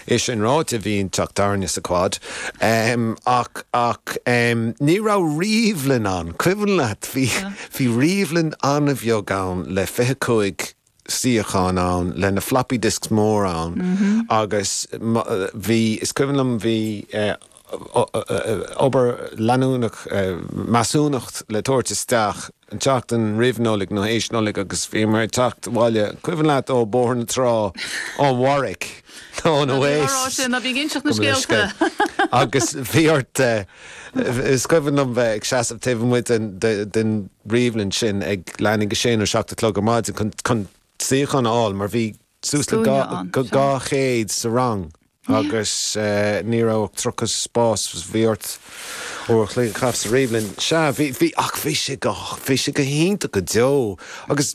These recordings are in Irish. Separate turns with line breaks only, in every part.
É sin ráite, bhí an teach tábhairne sa Quad. Ach, ach ní raibh ríomhlann ann. Cuimhin leat, bhí, bhí ríomhlann an-bheag ann le 25 suíochán ann, le na floppy disks mór ann agus bhí, is cuimhin liom, bhí obair leanúnach, measúnacht le tabhairt isteach an tseachtain roimh Nollaig nó théis Nollaig agus bhíomar ag teacht abhaile, cuimhin leat, ó Bóthar na Trá, ón Warwick nó ón Oasis.
Ná bí ag inseacht na scéalta.
Agus bhí ort, is cuimhin liom bheith ag seasamh taobh amuigh den ríomhlann sin ag leath i ndiaidh a sé nó 7 a chlog ar maidin chun suíochán a fháil mar bhí suas le 200 sa rang. Agus ní raibh ach 30 spás, bhí ort uair a chloig a chaitheamh sa ríomhlann. Sea, bhí, bhí, ach bhí sé go, bhí sé go hiontach go deo. Agus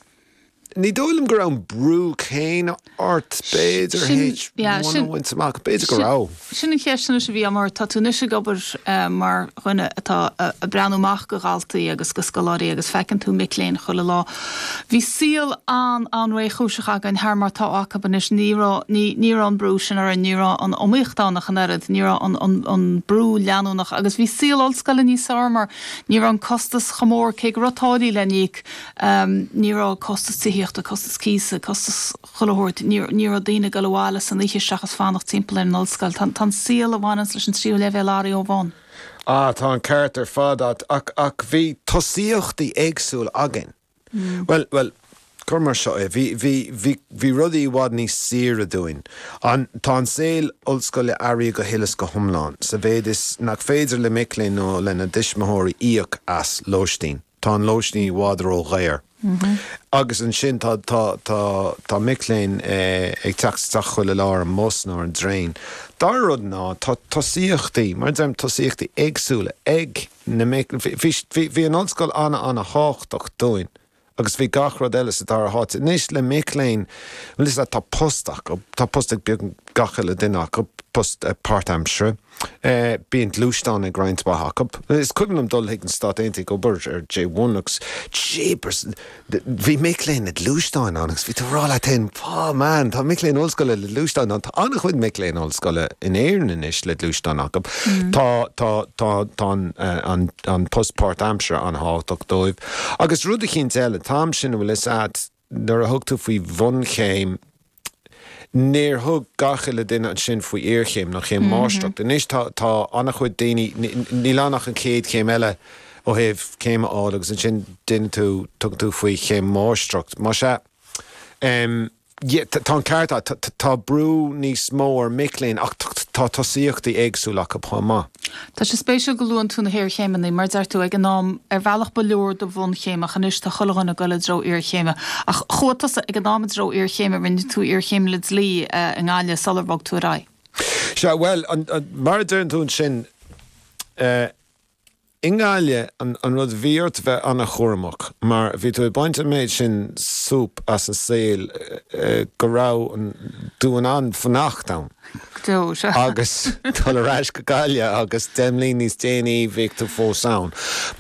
ní dóigh liom go raibh an brú céanna ort, b'fhéidir, H1 a bhaint amach, b'fhéidir go raibh.
Sin an cheist anois a bhí agam ort. Tá tú anois ag obair mar dhuine atá ag breathnú amach go dhaltaí agus go scoláirí agus feiceann tú mic léinn chuile lá. Bhí saol an-an-réchúiseach againn thar mar atá acu anois. Ní raibh, ní, ní raibh an brú sin orainn, ní raibh an iomaíocht ann ach an oiread, ní raibh an, an, an brú leanúnach agus bhí saol ollscoile níos fearr mar ní raibh an costas chomh mór, cé go raibh táillí le n-íoc, ní raibh costas tithíochta, costas cíosa, costas chuile shórt, ní, ní raibh daoine ag dul abhaile san oíche seachas fanacht timpeall ar an ollscoil. Tá, tá an saol a bhaineanns leis an tríú leibhéal athraithe ó bhun.
Ah, tá an ceart ar fad a't, ach, ach bhí tosaíochtaí éagsúla againn. Bhuel, bhuel, cuir mar seo é, bhí, bhí, bhí, bhí rudaí i bhfad níos saoire dúinn. An, tá an saol ollscoile athraithe go huile is go hiomlán, sa mhéid is nach féidir le mic léinn nó lena dtuismitheoirí íoc as lóistín. Tá an lóistín i bhfad ró-dhaor. Agus ansin tá, tá, tá, tá mic léinn ag teacht isteach chuile lá ar an mbus nó ar an dtraein. Dara rud ná, tá tosaíochtaí, mar a deirim, tosaíochtaí éagsúla ag na mic, bhí, bhí, bhí an ollscoil ana-ana-thábhachtach dúinn agus bhí gach rud eile sa dara háit. Anois le mic léinn, bhuel is ea, tá post acu, tá post ag beagnach gach uile duine acu, post páirtaimseartha. Bíonn gluaisteán ag roinnt mhaith acu. Is cuimhin liom dul chuig na Stáit Aontaithe ag obair ar J1 agus jeepers, bhí mic léinn le gluaisteáin ann agus bhí tú ag rá leat féin, oh man, tá mic léinn ollscoile le gluaisteáin ann. Tá an-chuid mic léinn ollscoile in Éirinn anois le gluaisteáin acu. Tá, tá, tá, tá an, an, an post páirtaimseartha an-thábhachtach dóibh. Agus rud eicínt eile, an t-am sin, an bhfuil fhios a'd, Nuair a thug tú faoi bhunchéim, níor thug gach uile duine ansin faoi iarchéim nó chéim máistreachta. Anois tá, tá an-chuid daoine, níl ann ach an chéad chéim eile ó thaobh céim a fháil agus ansin déanann tú, tugann tú faoi chéim máistreacht. Más ea, yeah, tá an ceart agat, tá brú níos mó ar mic léinn ach tá tosaíochtaí éagsúla acu chomh maith.
Tá sé spéisiúil go luann tú na hiarchéimeanna, mar deir tú, ag an am, ar bhealach ba leor do bhunchéim ach anois tá chuile dhuine ag dul i dtreo iarchéime. Ach chuaigh tusa ag an am i dtreo iarchéime, rinne tú iarchéim le dlí i nGaillimh sular bhog tú ar aghaidh.
Sea, bhuel, mar a deireann tú ansin, i nGaillimh, an rud, bhí ort bheith an-chúramach mar bhí tú ag baint an méid sin súp as an saol go raibh tú in ann fanacht ann.
Go deo, sea.
Agus dul ar ais go Gaillimh agus 10 mbliain níos déanaí bheadh tú fós ann.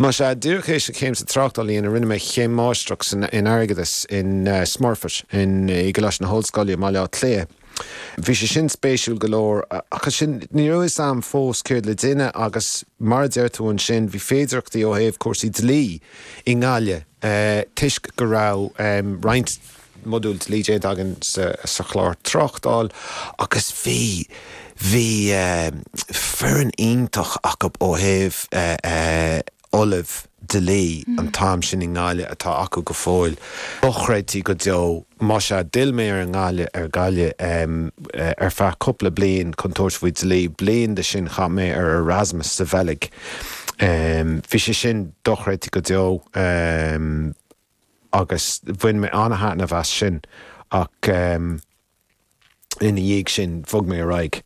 Más ea, díreach théis an chéim sa tráchtáil a dhéanamh rinne mé chéim máistreacht san, in airgeadas in Smurfit in, i gColáiste na hOllscoile i mBaile Átha Cliath. Bhí sé sin spéisiúil go leor ach ansin ní raibh fhios a'm fós céard le déanamh agus mar a deir tú ansin bhí féidireachtaí ó thaobh cúrsaí dlí i nGaillimh toisc go raibh roinnt modúl dlí déanta againn sa chlár tráchtáil agus bhí bhí foireann iontach acu ó thaobh ollamh dlí an t-am sin i nGaillimh atá acu go fóill. Dochreidte go deo. Más ea, d'fhill mé ar an nGaillimh, ar Ghaillimh ar feadh cúpla bliain chun tabhairt faoi dlí. Bliain de sin chaith mé ar Erasmus sa Bheilg. Bhí sé sin dochreidte go deo agus bhain mé an-thaitneamh as sin ach. Ina dhiaidh sin, bhog mé ar aghaidh.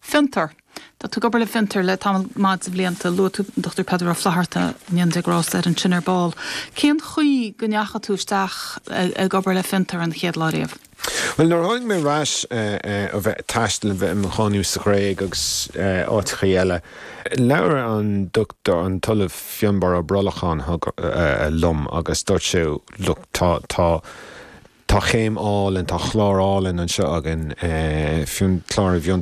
Fiontar. Tá tú ag obair le Fiontar le tamall maith de bhlianta. Luaigh tú an Dr Peadar Ó Flatharta, go ndéana Dia grásta air, ansin ar ball. Cén chaoi go ndeachaigh tú isteach ag obair le Fiontar an chéad lá riamh?
Bhuel, nuair a tháinig mé ar ais ó bheith ag taisteal, a bheith i mo chónaí sa Ghréig agus áiteachaí eile, labhair an Dr an tOllamh Fionnbarra Ó Brolacháin liom agus dúirt sé, look, tá, tá, Tá céim álainn, tá clár álainn anseo againn, clár i bhFiontar.